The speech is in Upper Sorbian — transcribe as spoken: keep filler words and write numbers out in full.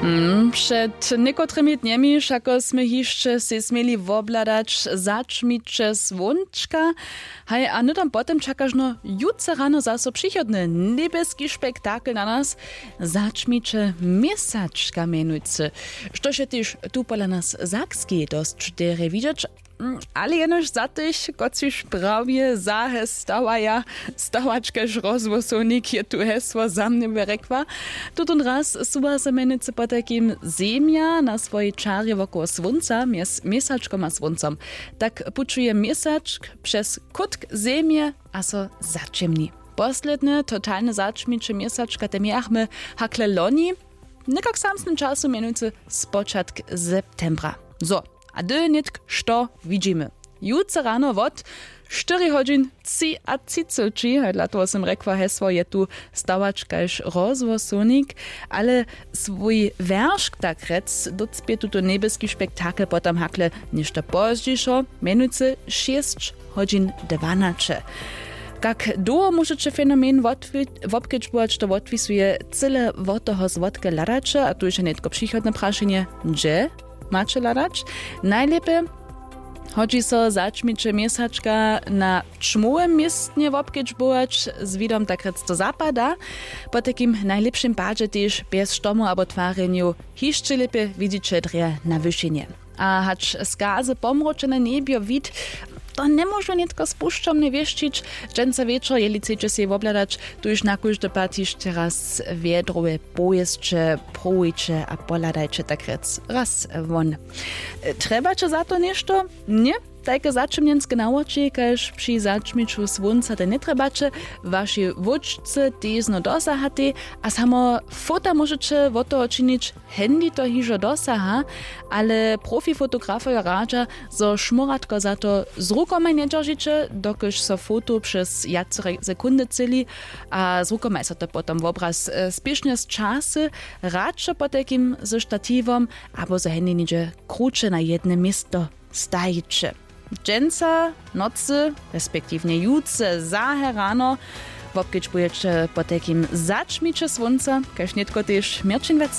Hmm, před někotrymi dnjemi wšako smy hišće sej směli wobhladać zaćmiće słónčka. Haj, a hnydom potom čakaš no jutře rano zaso přichodny njebjeski spektakel na nas. Zaćmiće měsačka mjenujcy, štož je tež tu pola nas w Sakskej dosć derje widźeć. Mm, ale jenož za tych, kotřiž prawje zahe stawaja. Stawačkaž rozhłosownik, je tu hesło za mnje by rjekła. Tutón raz suwa so mjenujcy potajkim zemja na swojej čarje wokoło słónca mjez měsačkom a słóncom. Tak pućuje měsačk přez kótk zemje a so zaćěmni. Posledne totalne zaćmiće měsačka te mějachmy hakle loni, někak w samsnym času, mjenujcy spočatk septembra. Zo, a hdy nětk što widźimy? Jutře rano wot štyri hodźin třiatřiceći, haj dla toho sym rjekła hesło, je tu stawačkaž rozhłosownik. Ale swój wjeršk tak rjec docpě tuto njebjeski spektakel potom hakle něšto pozdźišo, mjenujcy šěsć hodźin dwanaće. Kak dołho móžeće fenomen wotwi- wobkedźbować, to wotwisuje cyle wot toho, zwotke hladaće, a tu je nětko přichodne prašenje, hdźe maće hladać? Najlěpje hodźi so zaćmiće měsačka na ćmołym městnje wobkedźbować, z widom tak rjec do zapada. Potajkim w najlěpšim padźe tež bjez štomow abo twarjenjow hišće lěpje widźiće drje na wyšinje. A hač skazy pomročene njebjo wid, to njemóžu nětko spušćomnje wěšćić. Dźensa wječor jeli chceće sej wobhladać, tuž na kóždy pad hišće raz wjedrowe powěsće prowujće a pohladajće tak rjec raz won. Trjebaće za to něšto? Ně. Tajke zaćemnjenske nawoči kaž při zaćmiću słónca te njetrjebaće. Waši wóčce tež zno dosahatej, a samo fota móžeće wot toho činić. Handy to hižo dosaha, ale profifotografojo radźa, zo šmóratko za to z rukomaj njedźeržiće, dokelž so foto přez wjacere sekundy třěli, a z rukomaj so to potom wobraz spěšnje z časy. Radšo potajkim ze štatiwom, abo zo handy něhdźe kruće na jedne město stajiće. Dźensa nocy respektiwnje jutře zahe rano wobkedźbujeće potajkim zaćmiće słónca, kaž nětko tež měrćin wecli.